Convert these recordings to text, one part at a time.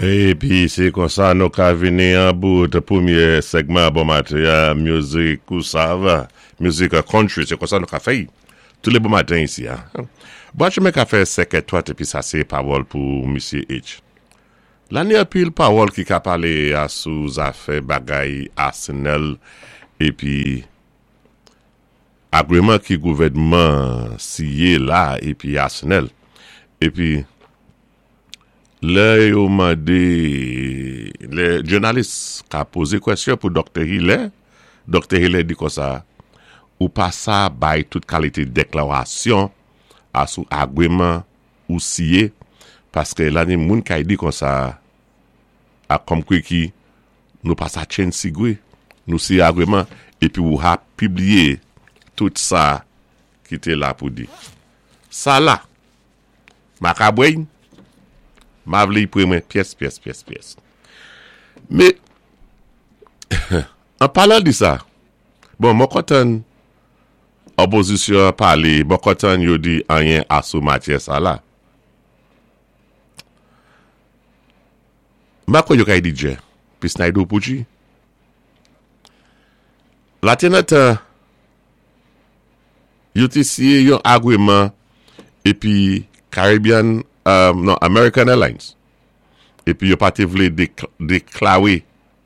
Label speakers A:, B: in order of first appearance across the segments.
A: Épi sé konsa nou ka vini an bout pwémyé sègman bon maten an, mizik ou sav, mizik country, sé konsa nou ka fè-y tou lé bon maten isi a. Bwat chemen ka fè 5 è 30 épi sa sé pawòl pou misye H. La ni anpil pawòl ki ka palé a sou zafè bagay Arsenal épi agreman ki gouvèdman siye la épi Arsenal épi Lè yo mande, lè jounalis ka poze kwèsyon pou Doktè Hilaire, Doktè Hilaire di konsa, ou pa sa bay tout kalite deklarasyon a sou agreman ou siye, paske la ni moun kay di konsa, a kòmkwi ki nou pa sa tchen sigwe, nou siye agreman, epi ou ha pibliye tout sa ki te la pou di. Sa la. Makabrey, ma vle y pre mwen pyès pyès pyès pyès. Me, an palan di sa, bon mwen kontann opozisyon an pale, mwen kontann yo di anyen asou matyè sa la. M pa kwè yo kay di djè, pi Snyder ou Pucci. La te nan tan. Yo te siye yon agreman epi Caribbean, non, American Airlines, epi yo pa te vle deklare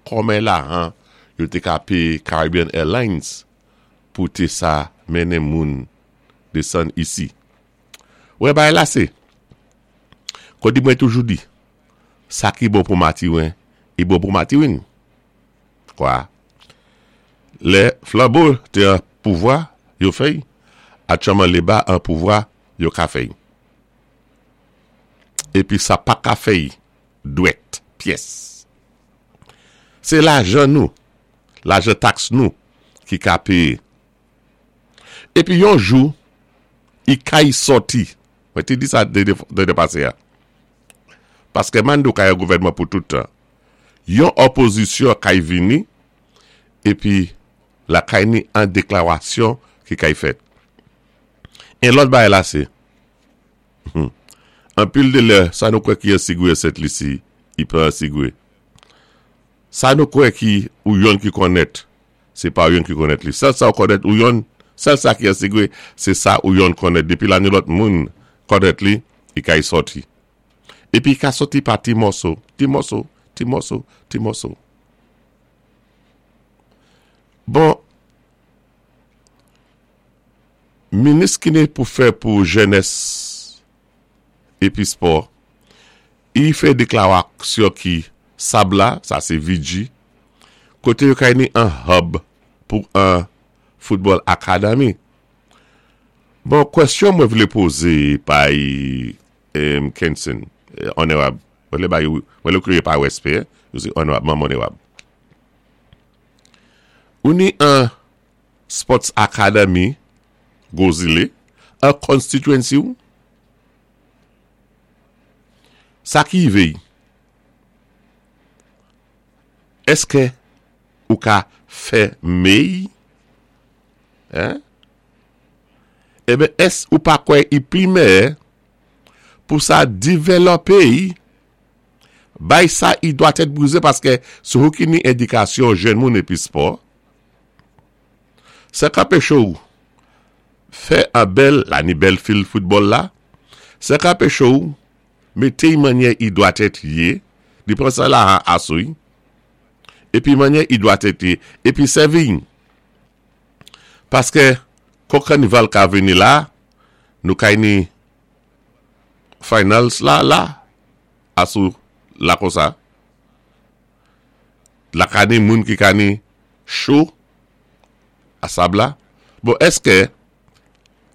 A: kòmen lahan yo te ka peye Caribbean Airlines pou te sa mennen moun desann isi. Wè bagay la se, kòdi mwen toujou di, sa ki bon pou Matiwen, i bon pou Matiwin. Kwa? Lè Flambeau te an pouvwa, yo fè y, aktyèlman Leba an pouvwa, yo ka fè y. Epi sa pa ka fè y dwèt pyès. Se lajan nou, lajan taks nou ki ka peye. Epi yon jou, i kay sòti. Mwen te di sa dene pase a. Paske Mando ka yon gouvènman pou tout tan. Yon òpozisyon kay vini epi lakay ni an deklarasyon ki kay fèt. En lòt bagay la se, hum, anpil de lè sa nou kwè ki an sigwe an Sent Lisi, i pa an sigwe. Sa nou kwè ki ou yonn ki konnèt, se pa ou yonn ki konnèt li. Sèl sa ou konnèt ou yonn, sèl sa ki an sigwe, se sa ou yonn konnèt. Depi la ni lòt moun konnèt li, i kay sòti. Epi ka soti pa ti mòso, ti mòso, ti mòso, ti mòso. Bon, minis ki ni pou fè pou jenès epi spò, i fè deklaraksyon ki sab la, sa se VG, kote yo kay ni an hub pou an foutbòl akadami. Bon, kwèsyon mwen vle poze bay Kenson, Onerab, mwen vle bay, mwen vle kriye pa respè, yo se onerab, manm onerab. Ou ni an Sports Academy Gwo Zile, an constituency ou? Sa ki rive y? Eske ou ka fè mey? Hein? Eben ès ou pa kwè i pli mèyè pou sa divèlòpe i, bay sa i dwa tèt brize paske se ou ki ni edikasyon jèn moun epi spò, sa k anpeche w fè an bèl la ni bèl fil foutbòl la, sa k anpeche w mete i mannyè i dwa tèt ye, li pran sa la an asou i, epi mannyè i dwa tèt ye, epi sèvi i. Paske kon kanival ka vini la, nou kay ni finals la la, asou la konsa. La ka ni moun ki ka ni cho a sab la. Bon eske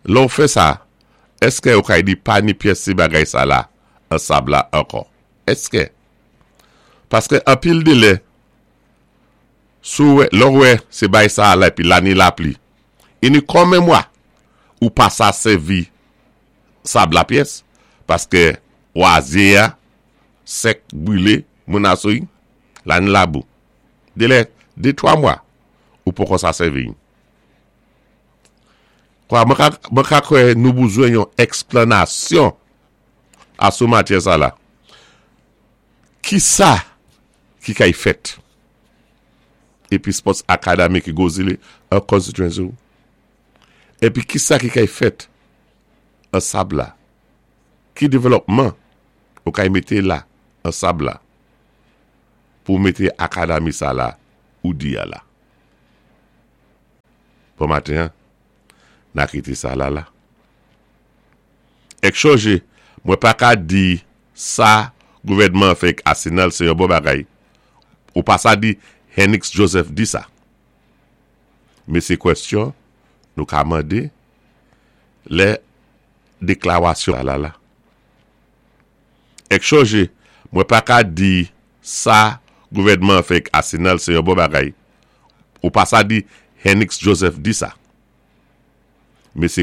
A: lè ou fè sa, eske ou kay di pa ni pyès ti bagay sa la an sab la ankò? Eske? Paske anpil de lè Si w wè, lè w wè se bay sa a la epi la ni lapli. Ini kòmen mwa ou pa sa sèvi sab la pyès paske wazye a sèk brile moun asou la ni labou. Delè de 3 mwa ou poko sa sèvi. Kwa mwen ka mwen ka kwè nou bouzwen yon eksplanasyon asou matyè sa la. Ki sa ki kay fèt? Épi Sports Academy ki Gros Islet an constituency ou? Épi ki sa ki kay fèt an Sab la? Ki développement ou kay mété la an Sab la pou mété academy sa la ou di a la? Bon maten an, na kité sa la la. Èk chonjé, mwen pa ka di sa gouvèdman an fè ak Arsenal sé yon bon bagay. Ou pa sa di Hennix Joseph di sa. Men sé kwèstyon nou ka mandé lè déklawasyon la la. Èk chonjé, mwen pa ka di sa gouvèdman an fè ak Arsenal sé yon bon bagay. Ou pa sa di Hennix Joseph di sa. Men sé.